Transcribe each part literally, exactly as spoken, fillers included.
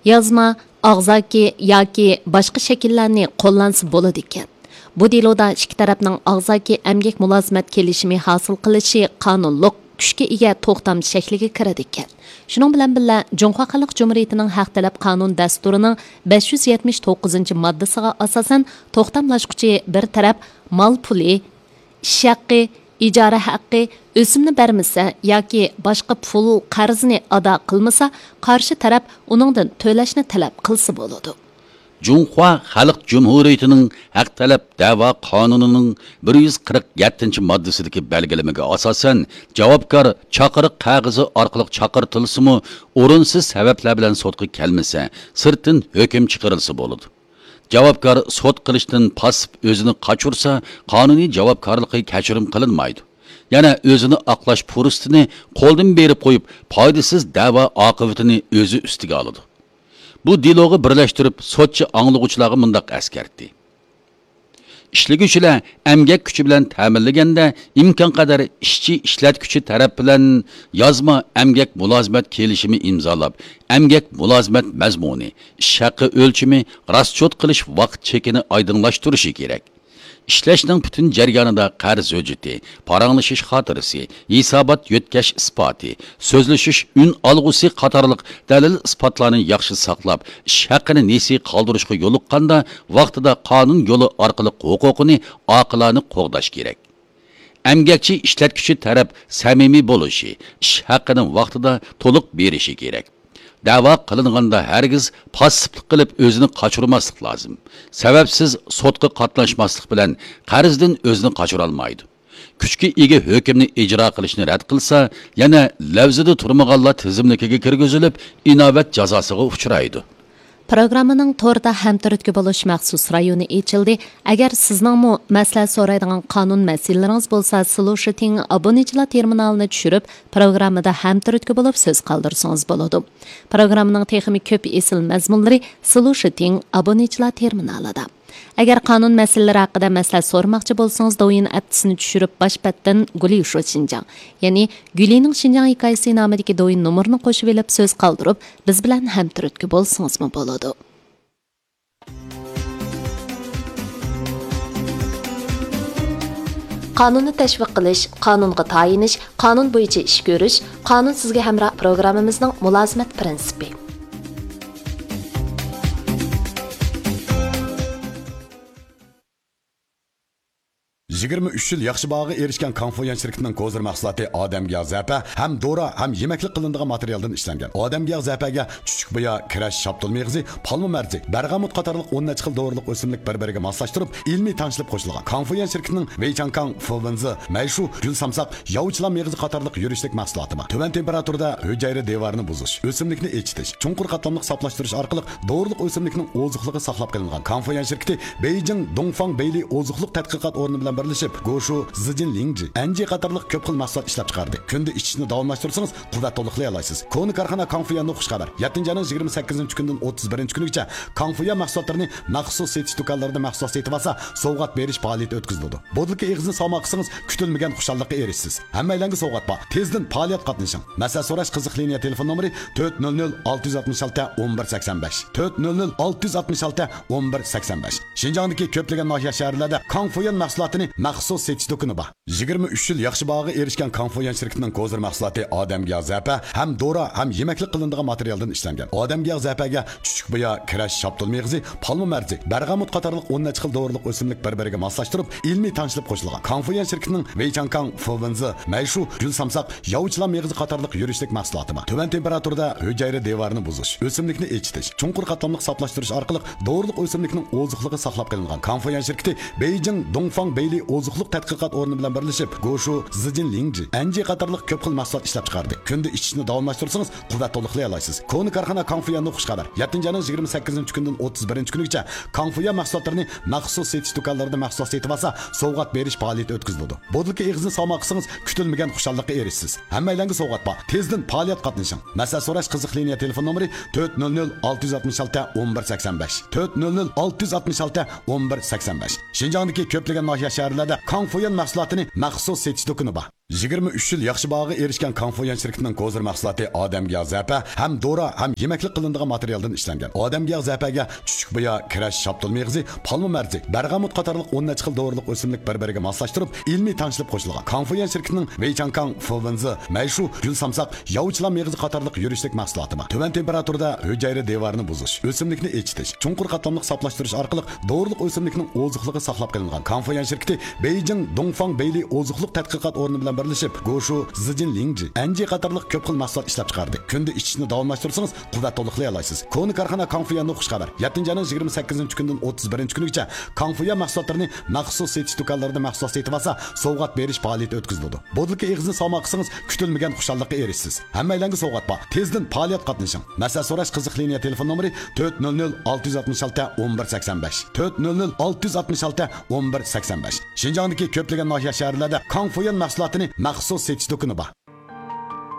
يازما، ئاغزاكى ياكى باشقا شەكىللەرنى قوللانسا بولىدىكەن. بۇ دېلودا ئىككى تەرەپنىڭ ئاغزاكى ئەمگەك مۇلازىمەت كېلىشىمى ھاسىل قىلىشى قانۇنلۇق كۈچكە ئىگە توختام شەكلىگە كىرىدىكەن. شۇنىڭ بىلەن بىللە، جۇڭخۇا خەلق جۇمھۇرىيىتىنىڭ ھەق تەلەپ قانۇن دەستۇرىنىڭ بەش يۈز يەتمىش توققۇزىنچى ماددىسىغا ئاساسەن، توختاملاشقۇچى بىر تەرەپ مال پۇلى، ئىش ھەققى، ئىجارە ھەققى، ئۆسۈمنى بەرمىسە ياكى باشقا پۇل قەرزنى ئادا قىلمىسا، قارشى تەرەپ ئۇنىڭدىن تۆلەشنى تەلەپ قىلسا بولىدۇ. جۇڭخۇا خەلق جۇمھۇرىيىتىنىڭ ھەق تەلەپ دەۋا قانۇنىنىڭ بىر يۈز قىرىق يەتتىنچى ماددىسىدىكى بەلگىلىمىگە ئاساسەن، جاۋابكار چاقىرىق قەغىزى ئارقىلىق چاقىرتىلسىمۇ، ئورۇنسىز سەۋەبلەر بىلەن سوتقا كەلمىسە، سىرتتىن ھۆكۈم چىقىرىلسا بولىدۇ. جاۋابكار سوت قىلىشتىن پاسسىپ ئۆزىنى قاچۇرسا، قانۇنىي جاۋابكارلىقى كەچۈرۈم قىلىنمايدۇ. يەنە ئۆزىنى ئاقلاش پۇرسىتىنى قولدىن بېرىپ قويۇپ، پايدىسىز دەۋا ئاقىۋىتىنى ئۆزى ئۈستىگە ئالىدۇ. بۇ دېلوغا بىرلەشتۈرۈپ، سوتچى ئاڭلىغۇچىلارغا مۇنداق ئەسكەرتتى: ئىشلىگۈچىلەر ئەمگەك كۈچى بىلەن تەمىنلىگەندە، ئىمكانقەدەر ئىشچى ئىشلەتكۈچى تەرەپ بىلەن يازما ئەمگەك مۇلازىمەت كېلىشىمى ئىمزالاپ، ئەمگەك مۇلازىمەت مەزمۇنى، ئىش ھەققى ئۆلچىمى، راسچوت قىلىش ۋاقىت چېكىنى ئايدىڭلاشتۇرۇشى كېرەك. ئىشلەشنىڭ پۈتۈن جەريانىدا قەرز ھۆججىتى، پاراڭلىشىش خاتىرىسى، ھېسابات يۆتكەش ئىسپاتى، سۆزلىشىش ئۈن ئالغۇسى قاتارلىق دەلىل-ئىسپاتلارنى ياخشى ساقلاپ، ئىش ھەققىنى نېسى قالدۇرۇشقا يولۇققاندا، ۋاقتىدا قانۇن يولى ئارقىلىق ھوقۇقىنى ئاقىلانە قوغداش كېرەك. ئەمگەكچى ئىشلەتكۈچى تەرەپ سەمىمىي بولۇشى، ئىش ھەققىنى ۋاقتىدا تولۇق بېرىشى كېرەك. دەۋا قىلىنغاندا ھەرگىز پاسسىپلىق قىلىپ ئۆزىنى قاچۇرماسلىق لازىم. سەۋەبسىز سوتقا قاتناشماسلىق بىلەن قەرزدىن ئۆزىنى قاچۇرالمايدۇ. كۈچكە ئىگە ھۆكۈمنى ئىجرا قىلىشنى رەت قىلسا، يەنە لەۋزىدە تۇرمىغانلار تىزىملىكىگە كىرگۈزۈلۈپ، ئىناۋەت جازاسىغا ئۇچرايدۇ. پروگراممىنىڭ توردا ھەمتۈرتكە بولۇش مەخسۇس رايونى ئېچىلدى. ئەگەر سىزنىڭمۇ مەسلىھەت سورايدىغان قانۇن مەسىلىلىرىڭىز بولسا، سلۇشىتىڭ ئابۇنىچىلار تېرمىنالىنى چۈشۈرۈپ، پروگراممىدا ھەمتۈرتكە بولۇپ سۆز قالدۇرسىڭىز بولىدۇ. پروگراممىنىڭ تېخىمۇ كۆپ ئېسىل مەزمۇنلىرى سلۇشىتىڭ ئابۇنىچىلار تېرمىنالىدا. ئەگەر قانۇن مەسىلىلىرى ھەققىدە مەسلىھەت سورىماقچى بولسىڭىز، دوۋيىن ئەپتىسىنى چۈشۈرۈپ، باش بەتتىن گۇليۇشۇ شىنجاڭ، يەنى گۈلىنىڭ شىنجاڭ ھېكايىسى نامىدىكى دوۋيىن نومۇرىنى قوشۇۋېلىپ سۆز قالدۇرۇپ، بىز بىلەن ھەمتۈرتكە بولسىڭىزمۇ بولىدۇ. قانۇننى تەشۋىق قىلىش، قانۇنغا تايىنىش، قانۇن بويىچە ئىش كۆرۈش، قانۇن سىزگە ھەمراھ پروگراممىمىزنىڭ مۇلازىمەت پىرىنسىپى. يىگىرمە ئۈچ يىل ياخشى باھاغا ئېرىشكەن كاڭفۇيۈەن شىركىتىنىڭ كوزىر مەھسۇلاتى ئادەمگە ياغ زەپە ھەم دورا ھەم يېمەكلىك قىلىنىدىغان ماتېرىيالدىن ئىشلەنگەن. ئادەمگە ياغ زەپەگە چۈچۈك بۇيا، كىرەش، شاپتۇل مېغىزى، پالما مەرزى، بەرغامۇت قاتارلىق ئون نەچچە خىل دورىلىق ئۆسۈملۈك بىر-بىرىگە ماسلاشتۇرۇپ، ئىلمىي تەڭشىلىپ قوشۇلغان. كاڭفۇيۈەن شىركىتىنىڭ ۋېيچاڭكاڭ، فېۋېنزې، مەيشۇ، گۈل سامساق، ياۋا چىلان مېغىزى قاتارلىق يۈرۈشلۈك مەھسۇلاتى بار. تۆۋەن تېمپېراتۇرىدا ھۈجەيرە دىۋارىنى بۇزۇش، ئۆسۈملۈكنى ئېچىتىش، چوڭقۇر قاتلاملىق ساپلاشتۇرۇش ئارقىلىق دورىلىق ئۆسۈملۈكنىڭ ئوزۇقلۇقى ساقلاپ قېلىنغان. كاڭفۇيۈەن شىركىتى بېيجىڭ دۇڭفاڭ بېيلى ئوزۇقلۇق تەتقىقات ئورنى بىلەن بىرلىشىپ، گوشۇ، زىجىن لىڭجى، ئەنجى قاتارلىق كۆپ خىل مەھسۇلات ئىشلەپ چىقاردى. كۈندە ئىچىشنى داۋاملاشتۇرسىڭىز، قۇۋۋەت تولۇقلىيالايسىز. كونا كارخانا كاڭفۇيۈەندىن خۇشخەۋەر. يەتتىنچى ئاينىڭ يىگىرمە سەككىزىنچى كۈنىدىن ئوتتۇز بىرىنچى كۈنىگىچە كاڭفۇيۈەن مەھسۇلاتلىرىنى مەخسۇس سېتىش دۇكانلىرىدا مەھسۇلات سېتىۋالسا، سوۋغات بېرىش پائالىيىتى ئۆتكۈزۈلىدۇ. بوتۇلكا ئېغىزىنى سالماقلىسىڭىز، كۈتۈلمىگەن خۇشاللىققا ئېرىشىسىز. ھەممەيلەنگە سوۋغات بار. تېزدىن پائالىيەتكە قاتنىشىڭ. مەسلىھەت سوراش قىزىق لىنىيە تېلېفون نومۇرى تۆت نۆل نۆل ئالتە يۈز ئاتمىش ئالتە ئون بىر سەكسەن بەش. تۆت نۆل نۆل ئالتە يۈز ئاتمىش ئالتە ئون بىر سەكسەن بەش. شىنجاڭدىكى كۆپلىگەن ناھىيە، شەھەرلەردە كاڭفۇيۈەن مەھسۇلاتىنى مەخسۇس سېتىش دۇكىنى بار. يىگىرمە ئۈچ يىل ياخشى باھاغا ئېرىشكەن كاڭفۇيۈەن شىركىتىنىڭ كوزىر مەھسۇلاتى ئادەمگە ياغ زەپە ھەم دورا ھەم يېمەكلىك قىلىنىدىغان ماتېرىيالدىن ئىشلەنگەن. ئادەمگە ياغ زەپەگە چۈچۈك بۇيا، كىرەش، شاپتۇل مېغىزى، پالما مەرزى، بەرغامۇت قاتارلىق ئون نەچچە خىل دورىلىق ئۆسۈملۈك بىر-بىرىگە ماسلاشتۇرۇپ، ئىلمىي تەڭشىلىپ قوشۇلغان. كاڭفۇيۈەن شىركىتىنىڭ ۋېيچاڭكاڭ، فېۋېنزې، مەيشۇ، گۈل سامساق، ياۋا چىلان مېغىزى قاتارلىق يۈرۈشلۈك مەھسۇلاتى بار. تۆۋەن تېمپېراتۇرىدا ھۈجەيرە دىۋارىنى بۇزۇش، ئۆسۈملۈكنى ئېچىتىش، چوڭقۇر قاتلاملىق ساپلاشتۇرۇش ئارقىلىق دورىلىق ئۆسۈملۈكنىڭ ئوزۇقلۇقى ساقلاپ قېلىنغان. كاڭفۇيۈەن شىركىتى بېيجىڭ دۇڭفاڭ بېيلى ئوزۇقلۇق تەتقىقات ئورنى بىلەن بىرلىشىپ، گوشۇ، زىجىن لىڭجى، ئەنجى قاتارلىق كۆپ خىل مەھسۇلات ئىشلەپ چىقاردى. كۈندە ئىچىشنى داۋاملاشتۇرسىڭىز، قۇۋۋەت تولۇقلىيالايسىز. كونا كارخانا كاڭفۇيۈەندىن خۇشخەۋەر. يەتتىنچى ئاينىڭ يىگىرمە سەككىزىنچى كۈنىدىن ئوتتۇز بىرىنچى كۈنىگىچە كاڭفۇيۈەن مەھسۇلاتلىرىنى مەخسۇس سېتىش دۇكانلىرىدا مەھسۇلات سېتىۋالسا، سوۋغات بېرىش پائالىيىتى ئۆتكۈزۈلىدۇ. بوتۇلكا ئېغىزىنى سالماقلىسىڭىز، كۈتۈلمىگەن خۇشاللىققا ئېرىشىسىز. ھەممەيلەنگە سوۋغات بار. تېزدىن پائالىيەتكە قاتنىشىڭ. مەسلىھەت سوراش قىزىق لىنىيە تېلېفون نومۇرى تۆت نۆل نۆل ئالتە يۈز ئاتمىش ئالتە ئون بىر سەكسەن بەش. تۆت نۆل نۆل ئالتە يۈز ئاتمىش ئالتە ئون بىر سەكسەن بەش. شىنجاڭدىكى كۆپلىگەن ناھىيە، شەھەرلەردە كاڭفۇيۈەن مەھسۇلاتىنى مەخسۇس سېتىش دۇكىنى بار. يىگىرمە ئۈچ يىل ياخشى باھاغا ئېرىشكەن كاڭفۇيۈەن شىركىتىنىڭ كوزىر مەھسۇلاتى ئادەمگە يەغ زەپە ھەم دورا ھەم يېمەكلىك قىلىنىدىغان ماتېرىيالدىن ئىشلەنگەن. ئادەمگە يەغ زەپەگە چۈچۈك بۇيا، كىرەش، شاپتۇل مېغىزى، پالما مەرزى، بەرغەمۇت قاتارلىق ئون نەچچە خىل دورىلىق ئۆسۈملۈك بىر-بىرىگە ماسلاشتۇرۇپ، ئىلمىي تەڭشىلىپ قوشۇلغان. كاڭفۇيۈەن شىركىتىنىڭ ۋېيچاڭكاڭ، فۇۋېنزى، مەيشۇ، گۈل سامساق، ياۋا چىلان مېغىزى قاتارلىق يۈرۈشلۈك مەھسۇلاتى بار. تۆۋەن تېمپېراتۇرىدا ھۈجەيرە دىۋارىنى بۇزۇش، ئۆسۈملۈكنى ئېچىتىش، چوڭقۇر قاتلاملىق ساپلاشتۇرۇش ئارقىلىق دورىلىق ئۆسۈملۈكنىڭ ئوزۇقلۇقى ساقلاپ قېلىنغان. كاڭفۇيۈەن شىركىتى بېيجىڭ دۇڭفاڭ بېيلى ئوزۇقلۇق تەتقىقات ئورنى بىلەن بىرلىشىپ، گوشۇ، زىجىن لىڭجى، ئەنجى قاتارلىق كۆپ خىل مەھسۇلات ئىشلەپ چىقاردى. كۈندە ئىچىشنى داۋاملاشتۇرسىڭىز، قۇۋۋەت تولۇقلايالايسىز. كونا كارخانا كاڭفۇيۈەندىن خۇش خەۋەر. يەتتىنچى ئاينىڭ يىگىرمە سەككىزىنچى كۈنىدىن ئوتتۇز بىرىنچى كۈنىگىچە كاڭفۇيۈەن مەھسۇلاتلىرىنى مەخسۇس سېتىش دۇكانلىرىدا مەھسۇلات سېتىۋالسا، سوۋغات بېرىش پائالىيىتى ئۆتكۈزۈلىدۇ. بودلىكا ئېغىزىنى سالماي قىلسىڭىز، كۈتۈلمىگەن خۇشاللىققا ئېرىشىسىز. ھەممەيلەنگە سوۋغات بار. تېزدىن پائالىيەتكە قاتنىشىڭ. مەسلىھەت سوراش قىزىق لىنىيە تېلېفون نومۇرى تۆت نۆل نۆل ئالتە يۈز ئاتمىش ئالتە ئون بىر سەكسەن بەش، تۆت نۆل نۆل ئالتە يۈز ئاتمىش ئالتە ئون بىر سەكسەن بەش. شىنجاڭدىكى كۆپلىگەن ناھىيە، شەھەرلەردە كاڭفۇيۈەن مەھسۇلاتىنى مەخسۇس سېتىش دۇكىنى بار.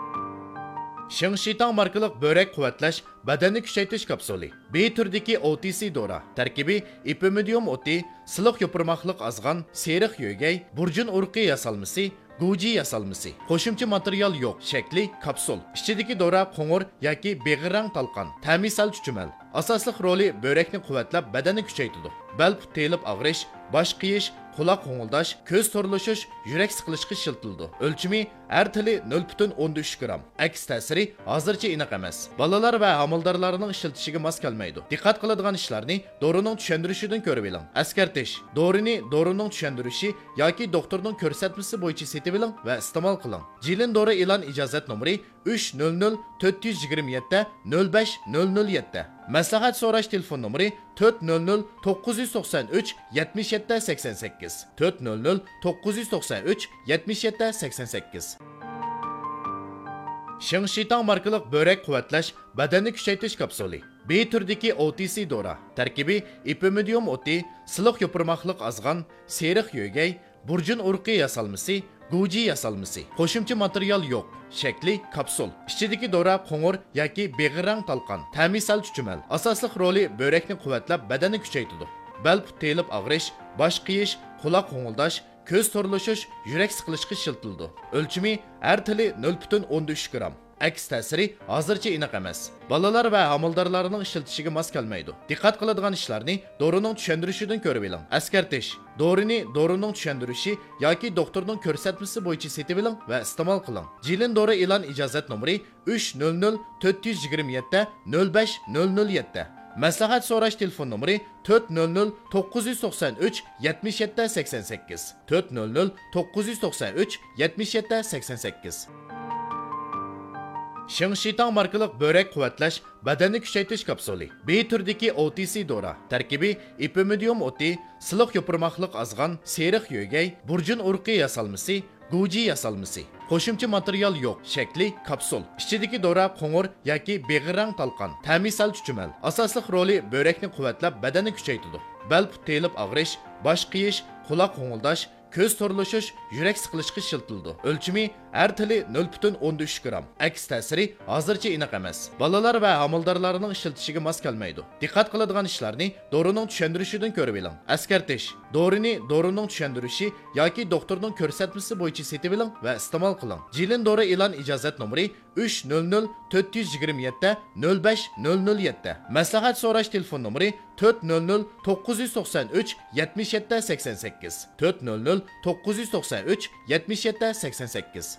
شېڭشىتاڭ ماركىلىق بۆرەك قۇۋۋەتلەش، بەدەننى كۈچەيتىش كاپسۇلى. بى تۈرىدىكى ئو تى سى دورا. تەركىبى ئېپىمىدىيۇم ئوتى، سىلىق يوپۇرماقلىق ئازغان، سېرىق يۆگەي، بۇرجۇن ئۇرۇقى ياسالمىسى، گۇجى ياسالمىسى. قوشۇمچە ماتېرىيال يوق. شەكلى كاپسۇل. ئىچىدىكى دورا قوڭۇر ياكى بېغىر رەڭ تالقان. تەمى سەل چۈچۈمەل. ئاساسلىق رولى بۆرەكنى قۇۋۋەتلەپ، بەدەننى كۈچەيتىدۇ. بەل پۇت تېيىلىپ ئاغرىش، باش قېيىش، قۇلاق غوڭۇلداش، كۆز تورلىشىش، يۈرەك سىقىلىشقا ئىشلىتىلىدۇ. ئۆلچىمى ھەر تىلى نۆل پۈتۈن ئوندىن ئۈچ گرام. ئەكس تەسىرى ھازىرچە ئېنىق ئەمەس. بالىلار ۋە ھامىلىدارلارنىڭ ئىشلىتىشىگە ماس كەلمەيدۇ. دىققەت قىلىدىغان ئىشلارنى دورىنىڭ چۈشەندۈرۈشىدىن كۆرۈۋېلىڭ. ئەسكەرتىش: دورىنى دورىنىڭ چۈشەندۈرۈشى ياكى دوختۇرنىڭ كۆرسەتمىسى بويىچە سېتىۋېلىڭ ۋە ئىستېمال قىلىڭ. جىلىن دورا ئېلان ئىجازەت نومۇرى ئۈچ نۆل نۆل تۆت يۈز يىگىرمە يەتتە نۆل بەش نۆل نۆل يەتتە. مەسلىھەت سوراش تېلېفون نومۇرى تۆت نۆل نۆل توققۇز يۈز توقسان ئۈچ يەتمىش يەتتە سەكسەن سەككىز، تۆت نۆل نۆل توققۇز يۈز توقسان ئۈچ يەتمىش يەتتە سەكسەن سەككىز. شېڭشىتاڭ ماركىلىق بۆرەك قۇۋۋەتلەش، بەدەننى كۈچەيتىش كاپسۇلى. بى تۈرىدىكى ئو تى سى دورا. تەركىبى ئېپىمىدىيۇم ئوتى، سىلىق يوپۇرماقلىق ئازغان، سېرىق يۆگەي، بۇرجۇن ئۇرۇقى ياسالمىسى، گۇجى ياسالمىسى. قوشۇمچە ماتېرىيال يوق. شەكلى كاپسۇل. ئىچىدىكى دورا قوڭۇر ياكى بېغىر رەڭ تالقان. تەمى سەل چۈچۈمەل. ئاساسلىق رولى بۆرەكنى قۇۋۋەتلەپ، بەدەننى كۈچەيتىدۇ. بەل پۇت تېيىلىپ ئاغرىش، باش قېيىش، قۇلاق غوڭۇلداش، كۆز تورلىشىش، يۈرەك سىقىلىشقا ئىشلىتىلىدۇ. ئۆلچىمى ھەر تىلى نۆل پۈتۈن ئوندىن ئۈچ گرام. ئەكس تەسىرى ھازىرچە ئېنىق ئەمەس. بالىلار ۋە ھامىلىدارلارنىڭ ئىشلىتىشىگە ماس كەلمەيدۇ. دىققەت قىلىدىغان ئىشلارنى دورىنىڭ چۈشەندۈرۈشىدىن كۆرۈۋېلىڭ. ئەسكەرتىش: دورىنى دورىنىڭ چۈشەندۈرۈشى ياكى دوختۇرنىڭ كۆرسەتمىسى بويىچە سېتىۋېلىڭ ۋە ئىستېمال قىلىڭ. جىلىن دورا ئېلان ئىجازەت نومۇرى ئۈچ نۆل نۆل تۆت يۈز يىگىرمە يەتتە نۆل بەش نۆل نۆل يەتتە. مەسلىھەت سوراش تېلېفون نومۇرى تۆت نۆل نۆل توققۇز يۈز توقسان ئۈچ يەتمىش يەتتە سەكسەن سەككىز، تۆت نۆل نۆل توققۇز يۈز توقسان ئۈچ يەتمىش يەتتە سەكسەن سەككىز. شېڭشىتاڭ ماركىلىق بۆرەك قۇۋۋەتلەش، بەدەننى كۈچەيتىش كاپسۇلى. بى تۈرىدىكى ئو تى سى دورا. تەركىبى ئېپىمىدىيۇم ئوتى، سىلىق يوپۇرماقلىق ئازغان، سېرىق يۆگەي، بۇرجۇن ئۇرۇقى ياسالمىسى، گۇجى ياسالمىسى. قوشۇمچە ماتېرىيال يوق. شەكلى كاپسۇل. ئىچىدىكى دورا قوڭۇر ياكى بېغىر رەڭ تالقان. تەمى سەل چۈچۈمەل. ئاساسلىق رولى بۆرەكنى قۇۋۋەتلەپ، بەدەننى كۈچەيتىدۇ. بەل پۇت تېيىلىپ ئاغرىش، باش قېيىش، قۇلاق غوڭۇلداش، كۆز تورلىشىش، يۈرەك سىقىلىشقا ئىشلىتىلىدۇ. ئۆلچىمى ھەر تىلى نۆل پۈتۈن ئوندىن ئۈچ گرام. ئەكس تەسىرى ھازىرچە ئېنىق ئەمەس. بالىلار ۋە ھامىلىدارلارنىڭ ئىشلىتىشىگە ماس كەلمەيدۇ. دىققەت قىلىدىغان ئىشلارنى دورىنىڭ چۈشەندۈرۈشىدىن كۆرۈۋېلىڭ. ئەسكەرتىش: دورىنى دورىنىڭ چۈشەندۈرۈشى ياكى دوختۇرنىڭ كۆرسەتمىسى بويىچە سېتىۋېلىڭ ۋە ئىستېمال قىلىڭ. جىلىن دورا ئېلان ئىجازەت نومۇرى ئۈچ نۆل نۆل تۆت يۈز يىگىرمە يەتتە نۆل بەش نۆل نۆل يەتتە. مەسلىھەت سوراش تېلېفون نومۇرى تۆت نۆل نۆل توققۇز يۈز توقسان ئۈچ يەتمىش يەتتە سەكسەن سەككىز، تۆت نۆل نۆل توققۇز يۈز توقسان ئۈچ يەتمىش يەتتە سەكسەن سەككىز.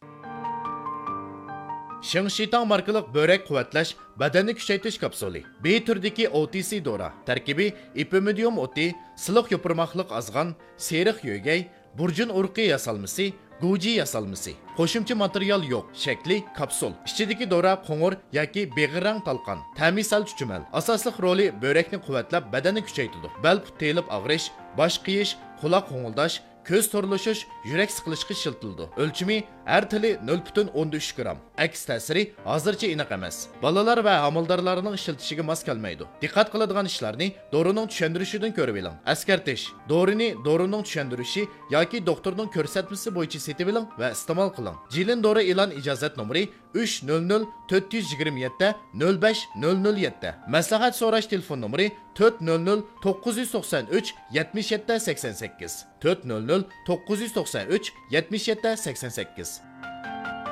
شېڭشىتاڭ ماركىلىق بۆرەك قۇۋۋەتلەش، بەدەننى كۈچەيتىش كاپسۇلى. بى تۈرىدىكى ئو تى سى دورا. تەركىبى ئېپىمىدىيۇم ئوتى، سىلىق يوپۇرماقلىق ئازغان، سېرىق يۆگەي، بۇرجۇن ئۇرۇقى ياسالمىسى، گۇجى ياسالمىسى. قوشۇمچە ماتېرىيال يوق. شەكلى كاپسۇل. ئىچىدىكى دورا قوڭۇر ياكى بېغىر رەڭ تالقان. تەمى سەل چۈچۈمەل. ئاساسلىق رولى بۆرەكنى قۇۋۋەتلەپ، بەدەننى كۈچەيتىدۇ. بەل پۇت تېيىلىپ ئاغرىش، باش قېيىش، قۇلاق غوڭۇلداش، كۆز تورلىشىش، يۈرەك سىقىلىشقا ئىشلىتىلىدۇ. ئۆلچىمى ھەر تىلى نۆل پۈتۈن ئوندىن ئۈچ گرام. ئەكس تەسىرى ھازىرچە ئېنىق ئەمەس. بالىلار ۋە ھامىلىدارلارنىڭ ئىشلىتىشىگە ماس كەلمەيدۇ. دىققەت قىلىدىغان ئىشلارنى دورىنىڭ چۈشەندۈرۈشىدىن كۆرۈۋېلىڭ. ئەسكەرتىش: دورىنى دورىنىڭ چۈشەندۈرۈشى ياكى دوختۇرنىڭ كۆرسەتمىسى بويىچە سېتىۋېلىڭ ۋە ئىستېمال قىلىڭ. جىلىن دورا ئېلان ئىجازەت نومۇرى ئۈچ نۆل نۆل تۆت يۈز يىگىرمە يەتتە نۆل بەش نۆل نۆل يەتتە. مەسلىھەت سوراش تېلېفون نومۇرى تۆت نۆل نۆل توققۇز يۈز توقسان ئۈچ يەتمىش يەتتە سەكسەن سەككىز، تۆت نۆل نۆل توققۇز يۈز توقسان ئۈچ يەتمىش يەتتە سەكسەن سەككىز.